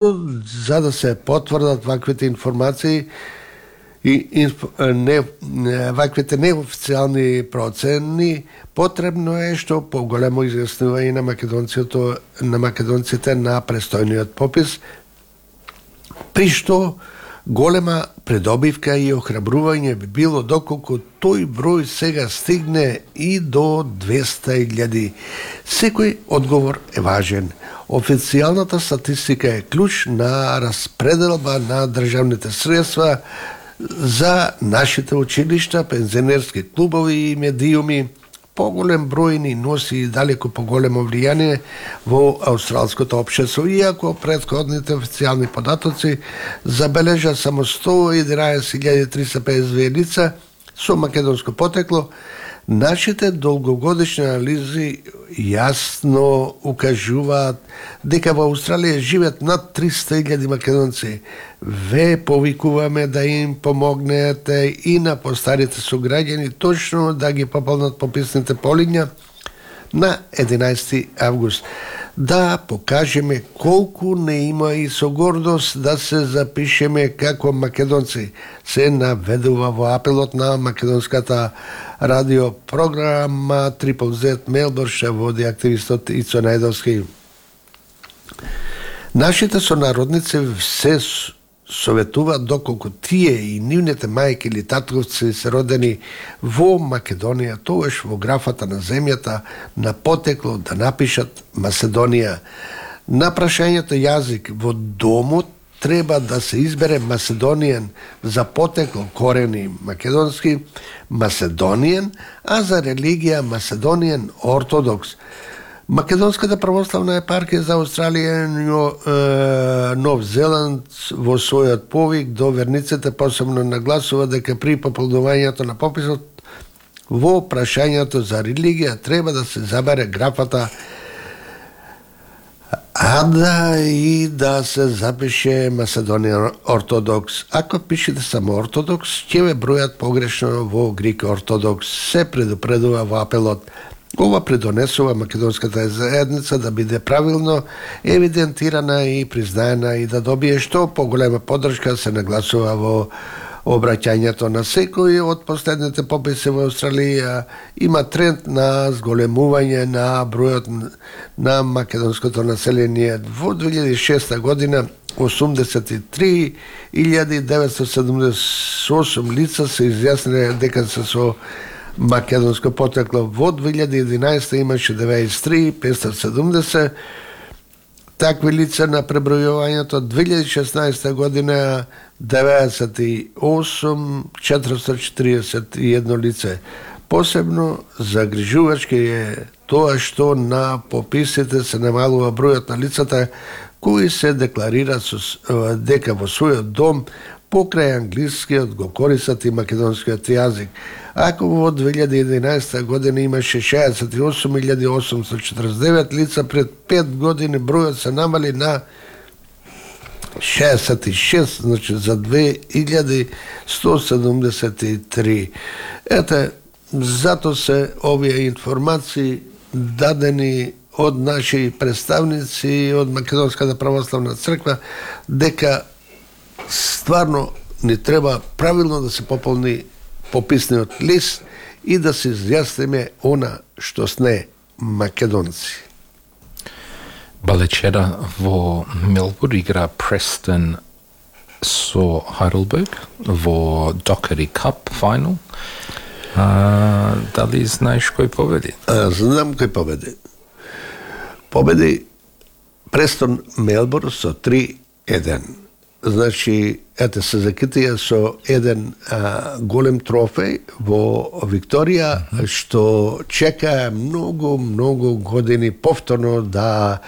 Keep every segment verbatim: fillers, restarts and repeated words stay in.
за да се потврдат ваквите информации и инф, не, ваквите неофицијални процени, потребно е што поголемо изјаснување на македонците на македонците на престојниот попис, при што голема предобивка и охрабрување би било доколку тој број сега стигне и до двеста илјади. Секој одговор е важен. Официјалната статистика е клjuč на распределба на државните средства за нашите училишта, пензионерски клубови и медиуми. Поголем број ни носи далеко поголемо влијание во австралското општество, иако претходните официјални податоци забележа само сто и единаесет илјади триста педесет две лица со македонско потекло. Нашите долгогодишни анализи јасно укажуваат дека во Австралија живеат над триста илјади македонци. Ве повикуваме да им помогнете и на постарите сограѓани точно да ги пополнат пописните полиња на единаесети август. Да покажеме колку не има и со гордост да се запишеме како македонци, се наведува во апелот на македонската радиопрограма Triple Z Мелбурн, што води активистот Ицо Најдовски. Нашите сонародници се советуваат доколку тие и нивните мајки или татковци се родени во Македонија, тогаш во графата на земјата на потекло да напишат Маседонија. На прашањето јазик во домот треба да се избере Маседонијан, за потекло корени македонски Маседонијан, а за религија Маседонијан ортодокс. Македонската православна епархија за Австралија и Нов Зеланд во својот повик до верниците посебно нагласува дека при пополнувањето на пописот во прашањето за религија треба да се забере графата а да и да се запише Маседонија ортодокс. Ако пишете само ортодокс, ќе ве бројат погрешно во грик ортодокс, се предупредува во апелот. Ова придонесува македонската заедница да биде правилно евидентирана и признаена и да добие што поголема поддршка, се нагласува во обраќањето на секој од последните пописи во Австралија. Има тренд на зголемување на бројот на македонското население. Во две илјади и шеста година осумдесет и три илјади деветстотини седумдесет и осум лица се изјасниле дека се со македонско потекло. Во две илјади и единаесета имаше деветдесет и три петстотини и седумдесет такви лица на пребројувањето. Две илјади и шеснаесета година деветдесет и осум четиристотини и четиридесет и едно лице. Посебно загрижувачки е тоа што на пописите се намалува бројот на лицата кои се декларира со, дека во својот дом покрај англискиот го користат и македонскиот јазик. Ако во две илјади и единаесета година имаше шеесет и осум илјади осумстотини и четиридесет и девет лица, пред пет години бројот се намали на шеесет и шест, значи за две илјади сто седумдесет и три. Ете, зато се овие информации дадени од наши представници од Македонската православна црква дека стварно ни треба правилно да се пополни пописниот лист и да се изјасниме она што сме македонци. Балечера во Мелбурн игра Престон со Хайдлберг во Dockery Cup финал. А, дали знаеш кој победи? А, знам кој победи. Победи Престон Мелбурн со три еден. Значи, ете се закитија со еден а, голем трофеј во Викторија, uh-huh. што чека многу, многу години повторно да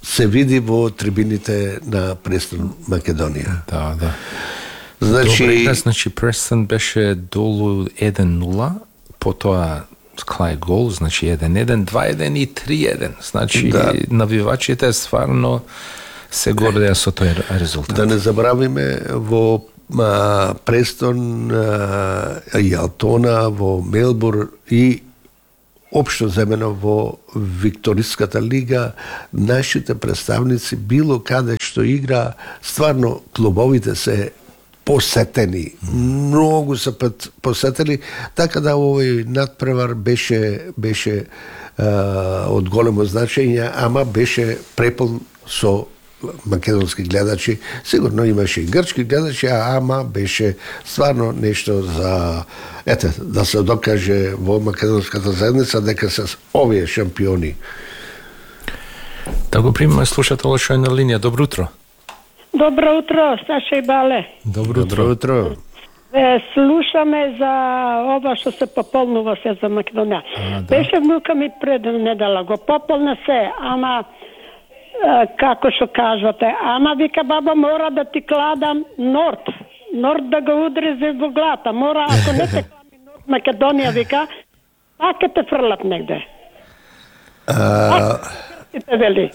се види во трибините на Престон Македонија. Да, да. Значи, Добре, значи Престон беше долу еден нула, потоа Клај гол, значи еден еден, два еден и три еден. Значи, да. Навивачите стварно се гордеа со тој резултат. Да не забравиме во а, Престон а, и Алтона, во Мелбурн и општо земено во Викториската лига, нашите представници било каде што игра, стварно клубовите се посетени, многу се пат посетени, така да овој надпревар беше беше а, од големо значење, ама беше препон со македонски гледачи. Сигурно имаше и грчки гледачи, ама беше стварно нешто за, ете, да се докаже во македонската заедница дека се овие шампиони. Да го примаме слушател што е на линија. Добро утро. Добро утро, Саша и Бале. Добро утро. Добро утро. Е, слушаме за ова што се пополнува се за Македонија. А, да. Беше внука ми пред недела, го пополна се, ама е, како што кажате, ама вика баба мора да ти кладам Норд. Норд да го удрезе во глата. Мора, ако не те клами Норд Македонија, вика, пак ќе те фрлат негде. А, Ти те вели.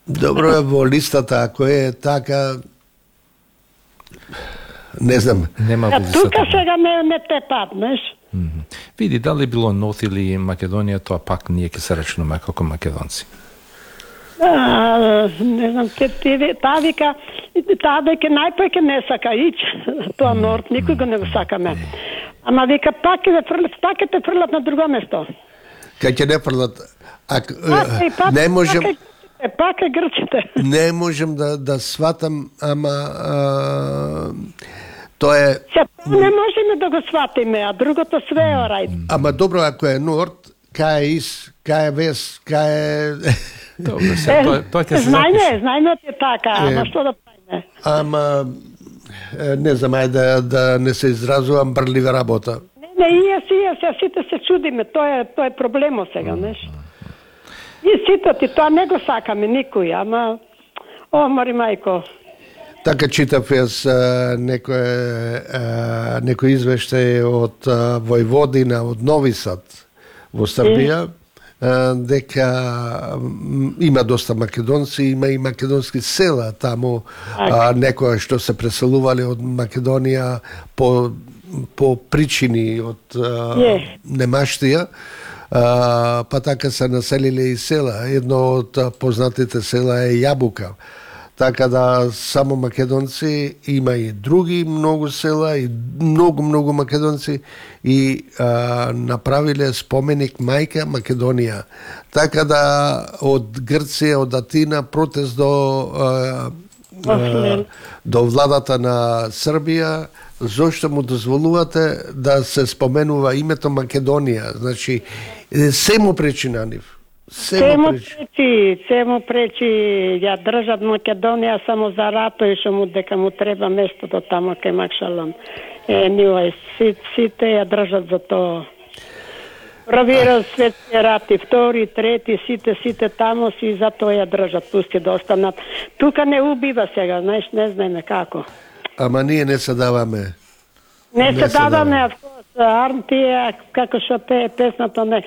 добро е во листата, ако е така, не знам. Нема А во тука листата. сега не, не те паднеш. Мгм. Види, дали било Нот или Македонија, тоа пак ние ќе се рачнуваме како македонци. А, не знам, те, те, таа вика, таа веќе најпој ке не сака ич, тоа Норд, никој го не го сакаме. Ама вика, пак ќе фрлат, пак ќе те фрлат на друго место. Кај ќе не фрлат, ако Пак, и пак, не можем, пак, е, пак е грчите. не можем да да сватам, ама а, тоа е, Се, не можеме да го сватиме, а другото све е рај. ама добро ако е Норд, кај е Ис, кај е Вес, кај е Добро, се, тоа, тоа ќе се знајме, запише. знајме ти е така, ама што да правиме? ама е, не знам, ајде да, да не се изразувам брлива работа. Не, не, и јас, и јас, јас сите се чудиме, тоа е, тоа е проблемот сега, неш? И сите ти, тоа не го сакаме никој, ама, о, мори мајко, Така читав јас а, некој а, некој извештај од а, Војводина, од Нови Сад во Србија, а, дека м, има доста македонци, има и македонски села таму, а, некоја што се преселувале од Македонија по по причини од а, Е. немаштија, а, па така се населиле и села. Едно од а, познатите села е Јабука. Така да само македонци, има и други многу села и многу многу македонци и а, направиле споменик Мајка Македонија. Така да од Грција, од Атина протест до а, а, до владата на Србија, зошто му дозволувате да се споменува името Македонија? Значи се му пречи на нив. Се се му му пречи. пречи, се му пречи, ја држат Македонија само за рато и што му дека му треба местото тамо кај Макшалон. Е, нива, си, сите ја држат за тоа. Првиот светски рат и втори, трети, сите, сите тамо си за тоа ја држат, пусти да останат. Тука не убива сега, знаеш, не знаеме како. Ама ние не се даваме. Не, Не се се даваме, даваме. Арнтија, како што пее песната, не,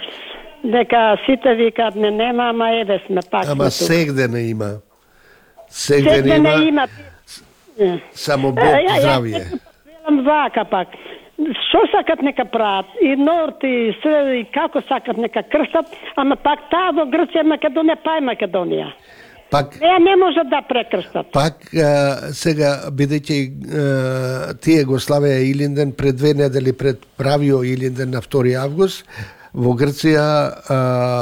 дека сите викаат не нема, ама еве сме пак. сме Ама тука. сегде не има. Сегде Сегде не не има, има. Е. само Бог Е, ја- здравје. Ја велам вака пак. Што сакат нека прават? И Норд и све, и како сакат нека крстат, ама пак таа во Грција, Македонија, па е Македонија. Пак Неа не може да прекрстат. Пак а, сега, бидејќи а, тие го славеа Илинден пред две недели пред правио Илинден на втори август, во Грција, а,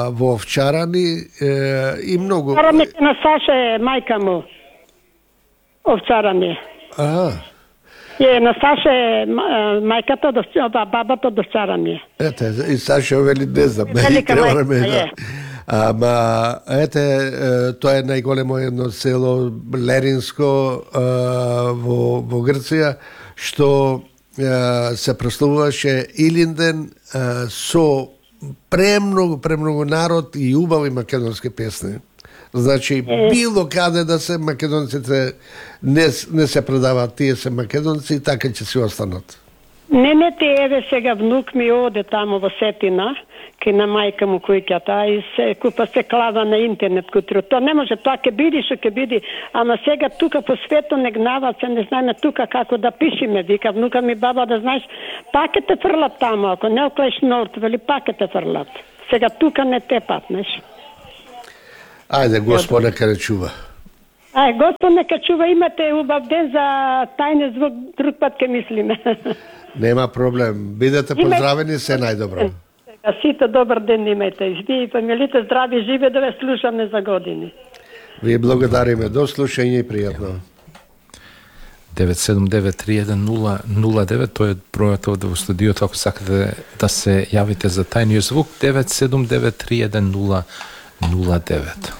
во Овчарани е, и многу... Бараме на Саша е мајка му. Овчарани. А, Е, на Саша е ма- мајката, до, ба- бабата до Овчарани. ете, и Саша вели, не знам, Велика треба мајка, да ме да. е. Ама, ете, е, тоа е најголемо едно село, Леринско, а, во, во Грција, што а, се прославуваше Илинден а, со премногу, премногу народ и убави македонски песни. Значи, било каде да се македонците не, не се предаваат, тие се македонци и така ќе си останат. Не, не, те еве сега внук ми оде тамо во Сетина, кај на мајка му кујката, и се купа се клава на интернет кутро. Тоа не може, тоа ќе биди што ќе биди, ама сега тука по светот не гнават се, не знаеме тука како да пишеме, вика внука ми баба да знаеш, пак ќе те фрлат тамо, ако не оклеш Норд, вели пак ќе те фрлат. Сега тука не тепат, знаеш. Ајде, Господ нека не чува. Ај, Господ нека чува, имате убав ден за тајни звук, друг пат ке мислиме. Нема проблем. Бидете поздравени, се најдобро. Сега сите добар ден имајте. Ви и фамилите здрави, живе да ве слушаме за години. Ви благодариме. До слушање и пријатно. девет седум девет три еден нула нула девет, тој е бројот овде во студиото, ако сакате да се јавите за тајниот звук, девет седум девет три еден нула нула девет.